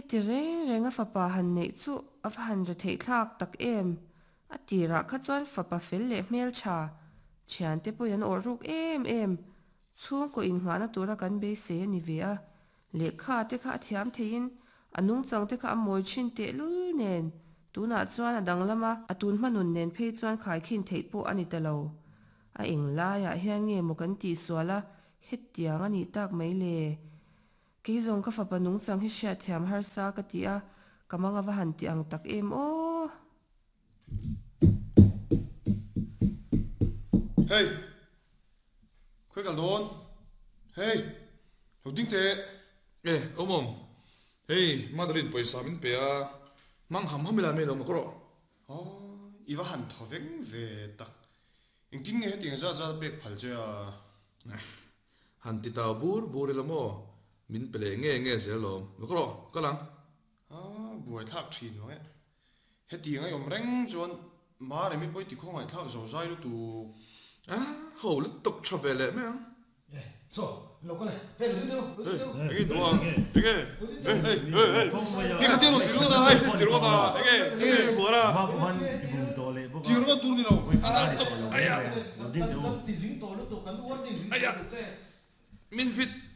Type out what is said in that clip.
Heti reng reng a fapa han neih chu a va han retheih thlak tak em! A tirah kha chuan fapa fel leh hmeltha, thiante pawhin an awrh ruk em em, chhungkaw innghahna tura kan beisei a ni ve a, lehkha te kha a thiam theiin a nungchang te kha a mawi thin tehlul nen, tunah chuan a danglam a, a tun hmanun nen phei chuan khaikhin theih pawh a ni ta lo. A eng laiah hian nge maw kan tihsual a, hetiang a nih tak mai le? Kei zawng ka fapa nungchang hi hriatthiam harsa ka ti a, ka mang a va han ti ang tak em aw! Hey! Khawi kal dawn? Hey! Lo ding teh! E, awm awm. Hei, Madeline pawisa min pe a, hmang ham ham ila mai lo mak rawh. Aw, i va han thaw veng ve tak. Engtin nge hetiang zat zat a pek phal che a? Han ti tau bur bur ila maw? Min pe leh nge nge zel lawm. Lawk rawh, kal ang. A buaithlak thin vang e. Hetiang a awm reng chuan Maremi pawi ti khawngaihthlak zo zai lutuk. A ho lutuk tha ve leh mai ang. E, chaw, lo kal e. Hei, lo ding deuh, lo ding deuh. Enge duh a? Enge? Hei, hei, hei, hei. Nge kha tir rawh, tir rawh hei, tir rawh a. Enge, enge buar a. Tir rawh tur ni lo. A nalh tawp. Aya. Kan ti zing tawh lutuk, kan warning zing tawh lutuk che. Min fit.